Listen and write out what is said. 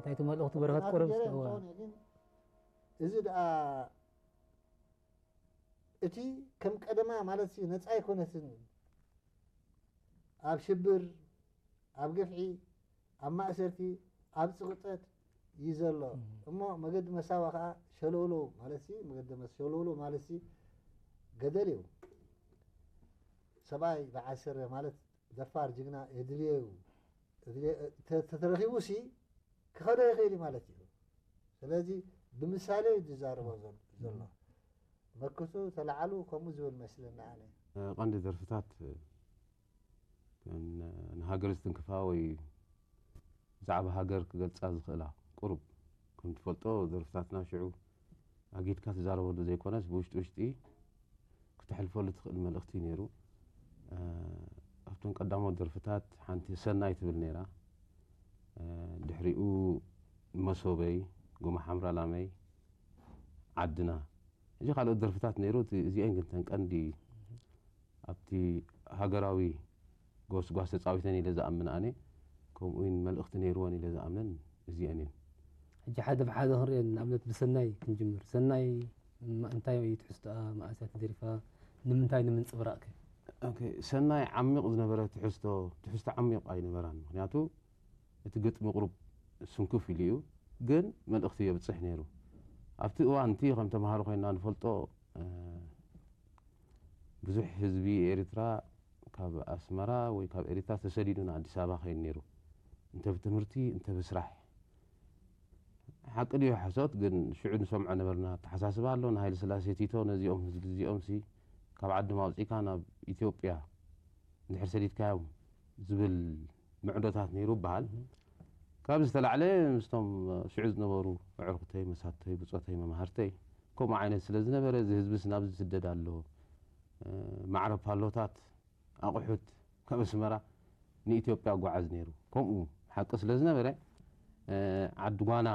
እንታይ እቲ መልእኽቲ በረኸት ቁሩብ እስከ ግን እዚ ደኣ እቲ ከም ቀደማ ማለት ነፃ ኣይኮነትን። ኣብ ሽብር፣ ኣብ ግፍዒ፣ ኣብ ማእሰርቲ፣ ኣብ ፅቕጠት እዩ ዘሎ። እሞ መገዲ መሳዋ ከዓ ሸለውለው ማለት መገዲ ሸለውለው ማለት ገደል እዩ። ሰብኣይ በዓል ስረ ማለት ደፋር ጅግና የድልዮ እዩ። ተተረኪቡ ሲ ክኸዶ ይኽእል እዩ ማለት እዩ። ስለዚ ብምሳሌ እዩ ዝዛረቦ ዘሎ። መክቱ ተላዓሉ ከምኡ ዝብል መስለኒ ኣነ። ቀንዲ ደርፍታት ንሃገር ዝትንክፋ ወይ ብዛዕባ ሃገር ክገልፃ ዝኽእላ ቁሩብ ከም ትፈልጦ ደርፍታትና ሽዑ ኣጊድካ ትዛረበሉ ዘይኮነስ ብውሽጢ ውሽጢ ክተሕልፈሉ ትኽእል መልእኽቲ ነይሩ። ኣብቶም ቀዳሞት ደርፍታት ሓንቲ ሰናይ ትብል ነይራ። ድሕሪኡ መሶበይ፣ ጎማ ሓምራ ላመይ፣ ዓድና፣ እዚ ካልኦት ደርፍታት ነይሩ። እዚአን ግን ተን ቀንዲ ኣብቲ ሃገራዊ ጎስጓስ ተፃዊተን ኢለ ዝኣምን ኣነ። ከምኡ እውን መልእኽቲ ነይርወን ኢለ ዝኣምነን እዚአን እየን። ሕጂ ሓደ ብሓደ ክንሪኦ ንኣብነት ብሰናይ ክንጅምር። ሰናይ እንታይ እዩ ትሕዝቶኣ? መኣስ እያ ተደሪፋ? ንምንታይ ንምንፅብራቕ ከ? ሰናይ ዓሚቕ ዝነበረ ትሕዝቶ ትሕዝቶ ዓሚቕ ኣይነበራን። ምክንያቱ እቲ ግጥሚ ቁሩብ ስንኩፍ ኢሉ እዩ፣ ግን መልእኽቲ የብፅሕ ነይሩ። ኣብቲ እዋን እቲ ከም ተምሃሮ ኮይና ንፈልጦ ብዙሕ ህዝቢ ኤርትራ ካብ ኣስመራ ወይ ካብ ኤርትራ ተሰዲዱ ንኣዲስ ኣበባ ከይድ ነይሩ፣ እንተ ብትምህርቲ እንተ ብስራሕ። ሓቂ ድዩ ሓሶት ግን ሽዑ ንሰምዖ ነበርና። ኣተሓሳስባ ኣሎ ንሃይለ ስላሴ ቲቶ ነዚኦም ህዝቢ እዚኦም ሲ ካብ ዓዶም ኣውፂእካ ናብ ኢትዮጵያ እንድሕር ሰዲድካዮም ዝብል ምዕዶታት ነይሩ ይበሃል። ካብ ዝተላዕለ ምስቶም ሽዑ ዝነበሩ ኣዕሩኽተይ፣ መሳተይ፣ ብፆተይ፣ መማህርተይ ከምኡ ዓይነት ስለ ዝነበረ እዚ ህዝብስ ናብዚ ዝስደድ ኣሎ፣ ማዕረ ፓሎታት ኣቑሑት ካብ ኣስመራ ንኢትዮጵያ ኣጓዓዝ ነይሩ። ከምኡ ሓቂ ስለ ዝነበረ ዓዲ ጓና